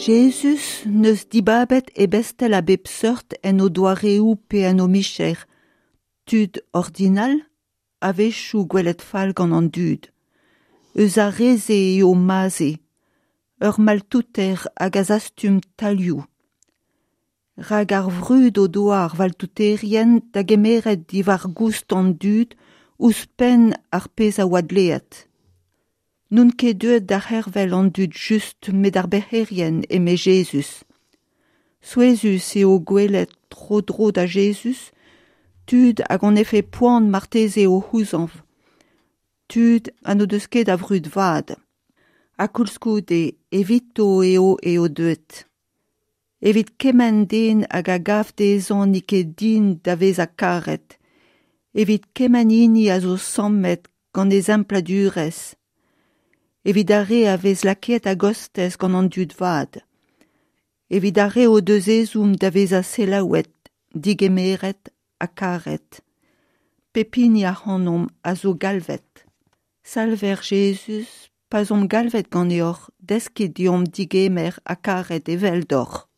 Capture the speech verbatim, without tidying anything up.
Jezuz neus dibabet ebestel a bep seurt en o doareoù pe en o micher, tud ordinal, a-wechoù gwelet fall gant an dud. Eus ar re-se eo Maze, ur maltouter hag a zastum tailhoù. Rak ar vrud o doa ar valtouterien da gemeret diwar-goust an dud ouzhpenn ar pezh a oa dleet. N'on ket deuet da c'hervel an dud just met ar bec'herien, eme Jezuz. Souezhus eo gwelet tro-dro da Jezuz, tud hag hon efe poan marteze o c'houzañv. Tud ha n'o deus ket a vrud vat. Ha koulskoude, evito eo eo deuet. Evit kement den hag a gav dezhañ n'eo ket din da vezañ karet. Evit kement hini a zo sammet gant e sempladurezh. Evit ar re a vez lakaet a-gostez gant an dud vat. Evit ar re o deus ezhomm da vezañ selaouet, digemeret ha karet. Pep hini ac'hanomp a zo galvet. Salver Jezuz, pa'z omp galvet ganeoc'h, deskit deomp digemer ha karet eveldoc'h.